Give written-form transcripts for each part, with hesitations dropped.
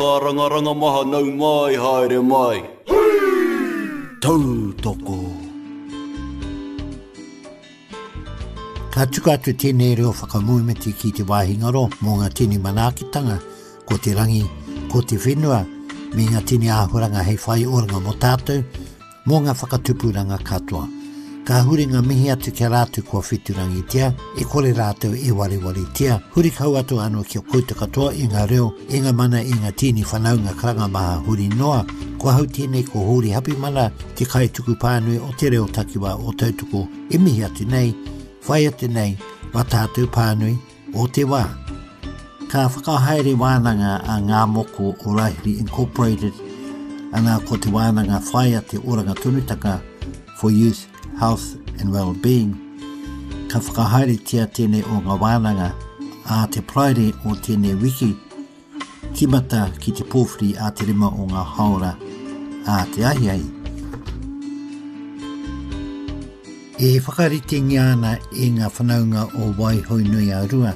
Kārangaranga maha nau mai haere mai. Tautoko. Ka tuku atu tēnei reo whakamoemiti ki te wāhi ngaro mō ngā tini manaakitanga, ko te rangi, ko te whenua, me ngā tini āhuranga hei whai oranga mō tātou, mō ngā whakatupuranga katoa. Ka huri ngā mihi atu ki a rātou kua wheturangitia, e kore rātou e warewaretia. Huri kau atu anō ki a koutou katoa i ngā reo, i ngā mana, i ngā tīni whanaunga karanga maha huri noa. Ko ahau tēnei ko Hōri Hapimana, te kaituku pānui o te reo takiwā o Tautoko e mihi atu nei, whai atu nei, wā tātou pānui o te wā. Ka whakahaere wānanga a Ngā Moko o Rahiri Incorporated, ana ko te wānanga Whāia te Oranga Tonutanga for Youth, Health and Wellbeing. Ka whakahaeretia tēnei o ngā wānanga ā te Paraire o tēnei wiki, tīmata ki te pōwhiri ā te rima o ngā haora ā te ahiahi. E whakaritengia ana e ngā whanaunga o Waihounui-a-Rua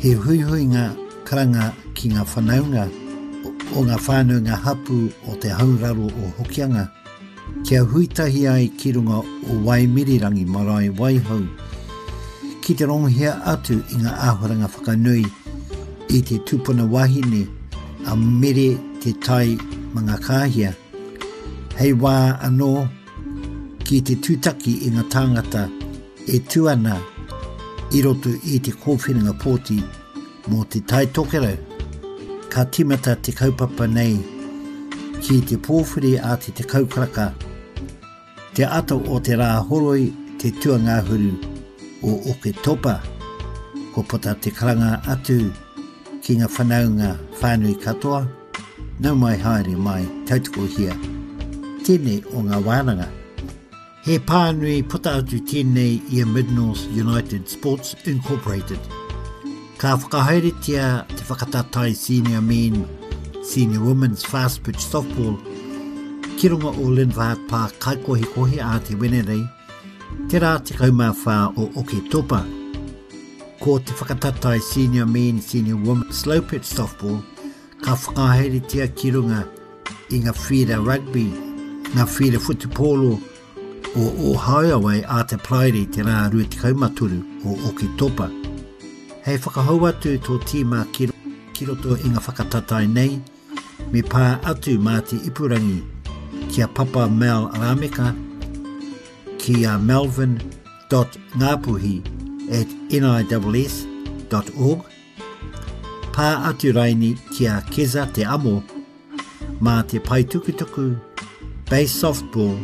he huihuinga karanga ki ngā whanaunga o ngā whānau ngā hapū o te hauraro o Hokianga kia hui tahi ai ki runga o Waimirirangi marae Waihou ki te rongohia atu i ngā āhuaranga whakanui i te tupuna wahine a Mere Te Tai Mangakāhia hei wā anō ki te tūtaki i ngā tāngata e tū ana i roto i te kōwhiringa pōti mō Te Tai Tokerau. Ka tīmata te kaupapa nei ki te pōwhiri a te 10 karaka te ata o te rā horoi te tuangahuru o Oketopa. Kua puta te karanga atu ki ngā whanaunga whānui katoa, nau mai haere mai tautokohia tēnei o ngā wānanga. He pānui puta atu tēnei i a Mid-North United Sports Incorporated. Ka whakahaeretia te whakatatae Senior Men, Senior Women's Fast Pitch Softball ki runga o Lindvard Park Kaikohikohi a te Wenerei, te rā 14 o Oketopa. Ko te whakatatae Senior Men, Senior Women Slow Pitch Softball ka whakahaeretia ki runga i ngā whīra rugby, ngā whīra whutupōro o Ōhaeawai a te Paraire te rā 23 o Oketopa. Hei whakahou atu tō tīma ki, ki roto i ngā whakatatae nei, me pā atu mā te ipurangi ki a Papa Mel Rameka, ki a melvin.ngapuhi at niss.org, Pā atu raini ki a Keza Te Amo mā te pae tukutuku basesoftball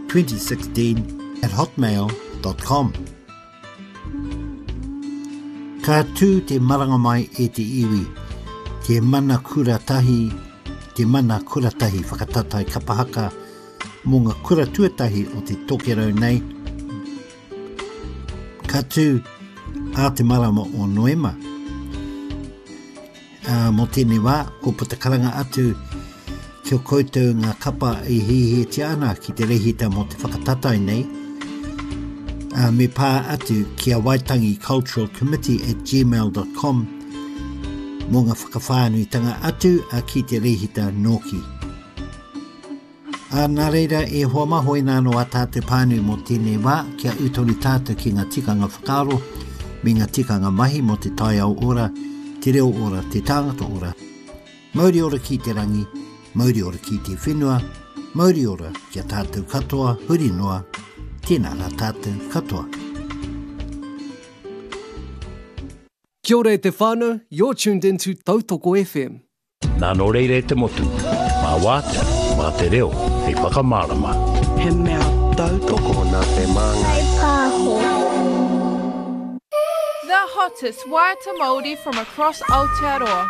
2016 at hotmail.com. Ka tū te maranga mai e te iwi, te mana kura tahi, te mana kura tahi whakataetae kapa haka mō ngā kura tuatahi o te tokerau nei, Ka tū ā te marama o Noema. Ā, mō tēnei wā, kua puta karanga atu ki a koutou ngā kapa e hiahiatia ana ki te rehita mō te whakatatae nei, ā, me pā atu ki a Waitangi Cultural Committee at gmail.com mō ngā whakawhānuitanga atu a ki te rehita nōki. Ā, nā reira, e hoa mā, hoina anō ā tātou pānui mō tēnei wā, kia ū tonu tātou ki ngā tikanga whakaaro me ngā tikanga mahi mō te taiao ora, te reo ora, te tāngata ora. Mauri ora ki te rangi, mauri ora ki te whenua, mauri ora ki a tātou katoa huri noa, tēnā rā tātou katoa. Kia ora e te whānau, you're tuned in to Tautoko FM. Nā nō reira e te motu, mā wātea, mā te reo hei whakamārama. He mea tautoko nā te Māngai. Pāho. The hottest waiata Māori from across Aotearoa.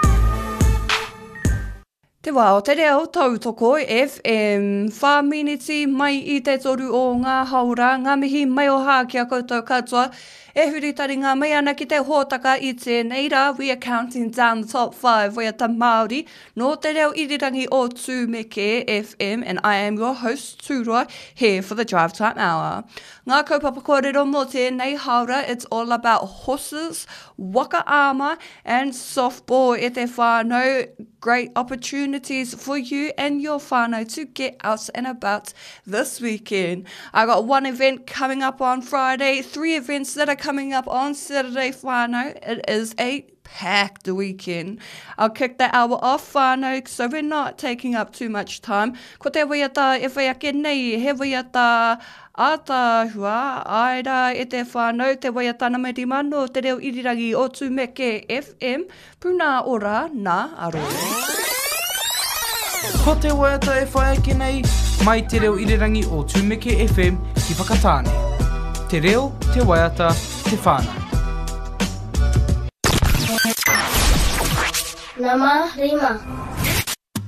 Te wā o te reo tautoko FM. Whā miniti mai i te toru o ngā haora, ngā mihi maioha ki a koutou katoa E huri taringa mai ana ki te hōtaka i tēnei rā, we are counting down the top 5 waiata Māori nō te reo irirangi o Tūmeke FM and I am your host Tūroa here for the drive time hour. Ngā kaupapa kōrero mō tēnei hāora, it's all about horses, waka ama and softball e te whānau. Great opportunities for you and your whānau to get out and about this weekend. I got one event coming up on Friday, three events that are coming up on Saturday whānau. It is a packed weekend. I'll kick the hour off whānau, so we're not taking up too much time. Ko te waiata e whai ake nei, he waiata ātaahua, āe rā e te whānau, te waiata nama 5 nō te reo irirangi o Tumeke FM, Puna ora nā aro. Ko te waiata e whai ake nei, mai te reo irirangi o Tumeke FM ki Whakatāne. Te reo, te waiata, te whānau. Nama rima.